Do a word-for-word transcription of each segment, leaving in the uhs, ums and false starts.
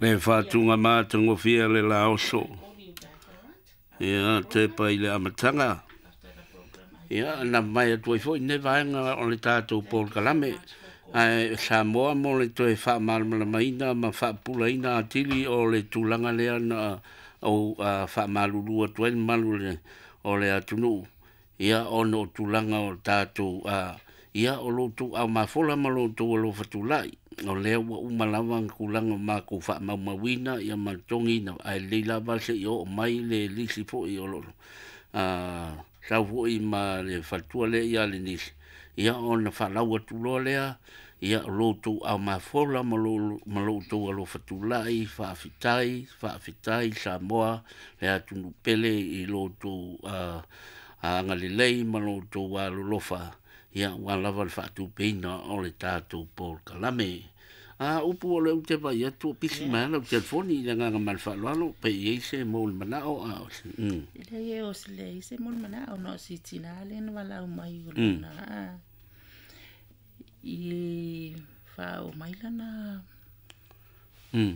Le faatuga matagofie le laoso. Ia tepa i le amataga. Ia na mai atu ai foi lenei vaega o le tatou polokalame. Ae Samoa mo le toe faamalamalamaina ma faapupulaina atili o le tulaga lea na ou faamalulu atu ai le mamalu o le atunuu. Ia ona o tulaga o tatou ia o lo outou aumafola ma lo outou alofa tulai. O lea ua uma lava na tulaga o matou faamaumauina ia ma le totogiina, ae lelei lava se i oo mai le lisi foi o lo o sau foi ma le faletua lea ia Lenise, ia ona faalau atu loa lea, ia o lo outou aumafola ma lo outou alofa tulai, faafetai, faafetai Samoa le atunuu pele i lo outou agalelei ma lo outou alolofa, ia aua lava le faatupeina o le tatou polokalame. A upu o lea ou te vaai atu o pisi mai lava lau telefoni i le agaga ma le faaaloalo, pe i ai se mo le manao. A o se mm. E leai o se leai se mo le manao, na o si tina lea na valaau mai o lona i faaoo mai lana mm.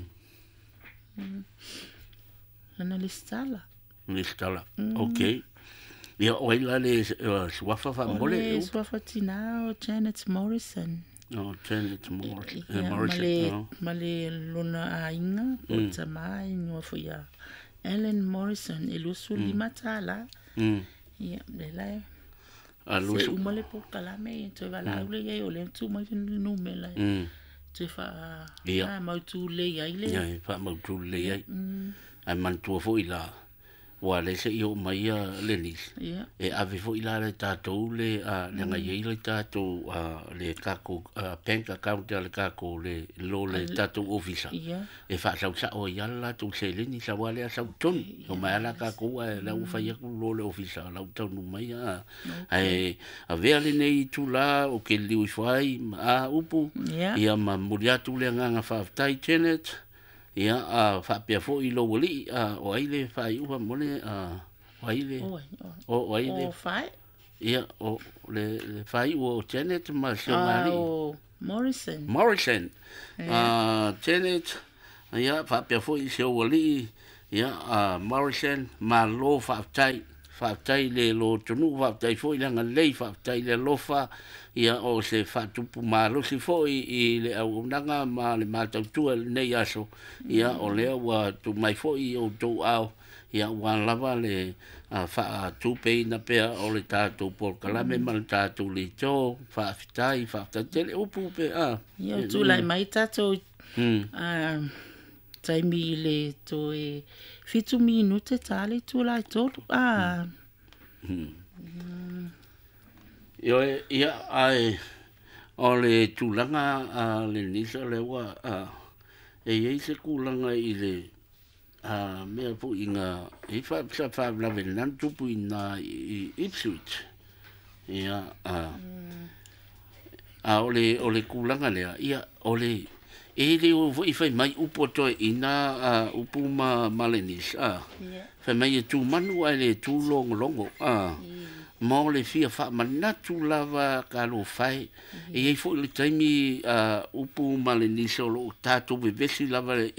lana lesitala. Lesitala, ok. Ia o ai la le suafa faamole? O le suafa tina o Janet Morrison. O Janet Morrison. Ia, ma le, ma le lona aiga po o tama e igoa foi ia Ellen Morrison, e luasefulu lima tala. Ia, lea la e se uma le polokalame ia toe valaau lea i ai, o lea na tuu mai le numera toe faa faamautu lelei ai le. Ia, faamautu lelei ai. Ae manatua foi la, ua lea se i oo mai ia Lenise, e ave foi la le tatou le leaga e i ai le tatou le tatou bank account a le tatou le lo le tatou ofisa e faasausao ai lava le latou seleni sau lava lea sau i totonu. Omai lava la tatou ae la ua fai atu lo le ofisa la ua taunuu mai ae avea lenei itula ou te liliu ifo ai ma a upu ia ma momoli atu le agaga faafetai Janet. Ia a faapea foi i lou alii, o ai le faaiuga mo le o ai le o ai le o fae ia o le le faaiu o Janet ma si ona alii o Morrison Morrison a Janet ia faapea foi i si ou alii ia a Morrison, malo faafetai. Faafetai le lotonuu, faafetai foi le agalelei, faafetai le alofa, ia o se faatupu malosi foi i le auaunaga ma le matautua i lenei aso, ia o lea ua tuu mai foi i outou ao, ia ua lava le faatupeina pea o le tatou polokalame ma le tatou leitio, faafetai, faafetai tele upu pe a. Ia o tulai mai tatou taimi i le toe fitu minute ta le itula e tolu. Ah. Ioe, ia, ae o le tulaga a le Nisa lea ua e i ai se tulaga i le a mea foi ina e fa sa faalavelave na tupu ina i Ipswich. Ia, a a o le o le tulaga lea, ia o le e le o foi fai mai upu toe ina upu ma ma le Nisa. Fai mai e tu manu ae le tu logologo. A ma o le fia faamanatu lava ka alofai. E i ai foi le taimi upu ma le Nisa o loo tatou vevesi lava e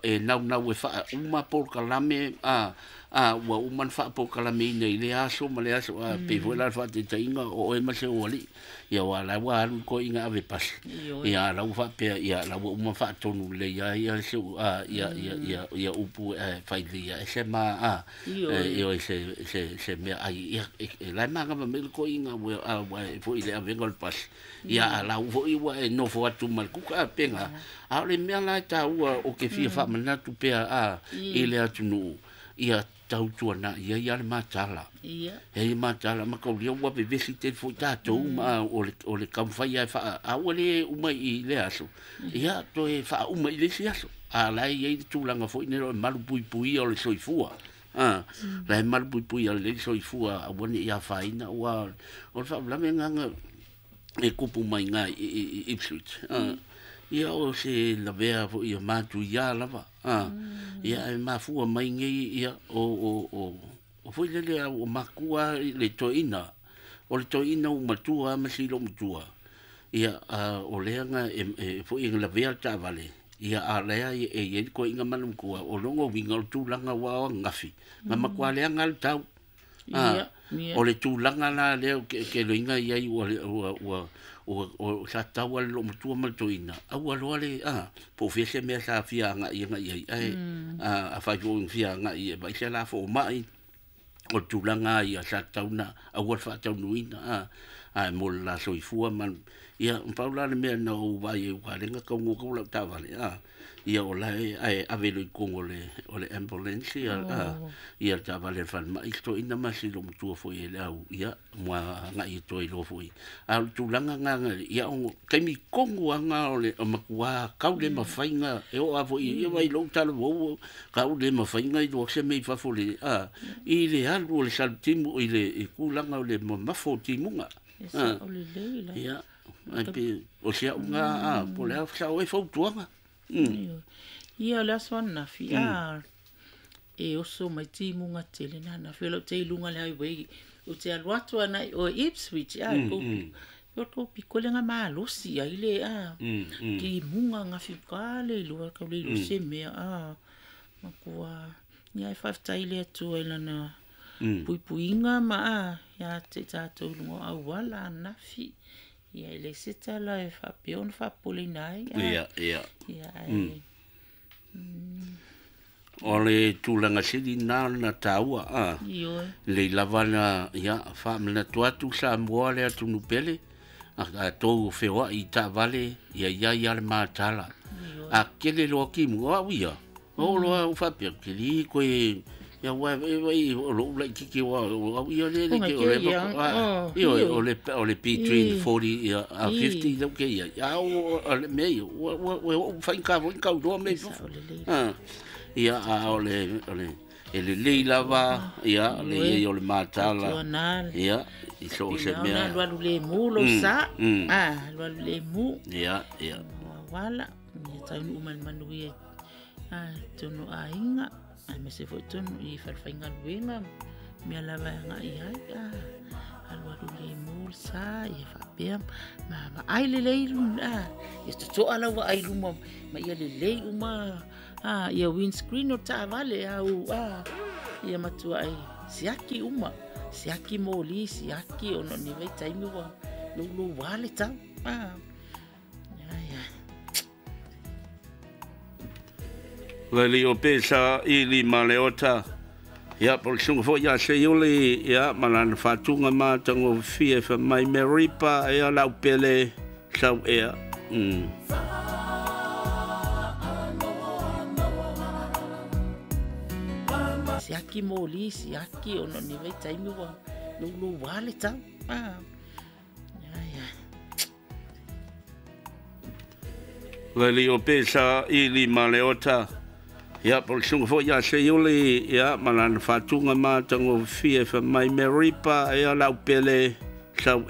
e naunau e faauma polokalame a a ua uma na faapolokalameina i lea aso ma le aso a pei foi la le faataitaiga o oe ma se ou alii. Ia ua la ua alu koe ina ave pasi. Ia la ua faapea ia la ua uma faatonu lelei ai ia se a ia ia ia ia upu e fai lelei ai se ma a ioe se se se mea ai ia e la e magava mai le koiga ua a ua e foi i le avega o le pasi. Ia a la ua foi ua e nofo atu ma le kuka a pega. A o le mea la e taua o ke fia faamanatu pea a i le atunuu ia tautuana ia ia le matala. E matala ma kaulia ua vevesi tele foi tatou ma o le o le taumafai ai faa a ua le uma i le aso. Ia toe faauma i le isi aso. A la e i ai le tulaga foi nei o le malupuipuia o le soifua. A la e malupuipuia le soifua aua ne i afaina ua o le faalavelave agaga e kupu mai i i Ipswich. A ia o se lavea foi ia matuia lava. A ia e mafua mai nei ia o o o o foi lele o makua le toeina. O le toeina u matua ma si lo matua. Ia a o lea nga e foi e lavea le taavale. Ia a lea e e i ko inga manu kua o longo winga o tūlanga wa o ngafi. Nga makua lea ngal tau. Ia, ia. O le tūlanga la lea ke, ke loinga iai ua ua ua ua o sa tau ale lo matua ma le toina. Au aloa le a po fia se mea sa fia nga ia nga ia ai a a fai fo fia nga ia vai se la fo mai o tūlanga ia sa tauna au al fa taunuina a a mo la soifua man ia paula le mea na o vai e wa lenga ka ngo ko la tavale a ia o la e ave lo kongo le o le ambulance ia a ia tavale fan ma isto ina ma si lo mutua fo ia le au ia mo nga i toi lo fo a tūlanga nga ia o kaimi kongo anga o le makua kau le mafainga e o avo ia vai lo talo wo kau le mafainga i lo se mei fa fo le a i le alu o le saltimu i le kulanga o le mafo timunga e sa o le leila ia ai pe o sia unga a po le sa o e fautuanga ia le aso anafi a e oso mai timunga tele na na felo te lunga le highway o te alu atu ana o Ipswich a ko ko ko pikole nga malosi ai le a ki munga nga fi ka le lua ka le se mea a makua ia e whaftai le atu ai lana puipuinga ma a ia te tātou lunga auala anafi ia le se tala e whapea ona whapole nai a ia ia ia ai o le tūlanga sili nā na tāua a le lavana ia whaamana tuatu sa mua le atunu pele a, a tō whewa i tāvale ia ia ia le mātala a kele loa ki mua au ia o loa u whapea kili koe ia wa e vai o lo lai kiki wa au ia le le ke o le ia o le o le between forty ia a fifty lo ke ia ia o le me o o whain ka whain ka roa me ah ia a o le o le e le lei lava ia le ia o le mātala ia i so se mea lua le mu lo sa ah lua le mu ia ia wala ia taunu uma le manu ia ah tonu ainga ai me se foi tonu i falfainga luenga mea lava nga i ai ah alua le mu sa ia faapea ma ma ai le lei ah ia totoa lau ai luma ma ia le lei uma ah ia windscreen o tavale au ah ia matua ai siaki uma siaki moli siaki ono ni vai taimi wa lo lo wale tau ah ia ia Lele o pesa ili maleota ia po sunga fo ia se yole ia malana fatunga ma tango fia fa mai meripa ia lau pele sau ea mm siaki moli siaki ono ni vai taimi wa lo lo wale tau ah ia ia Lele o pesa ili maleota ia po sunga fo ia se yole ia malana fatunga ma tango fia fa mai meripa ia lau pele sau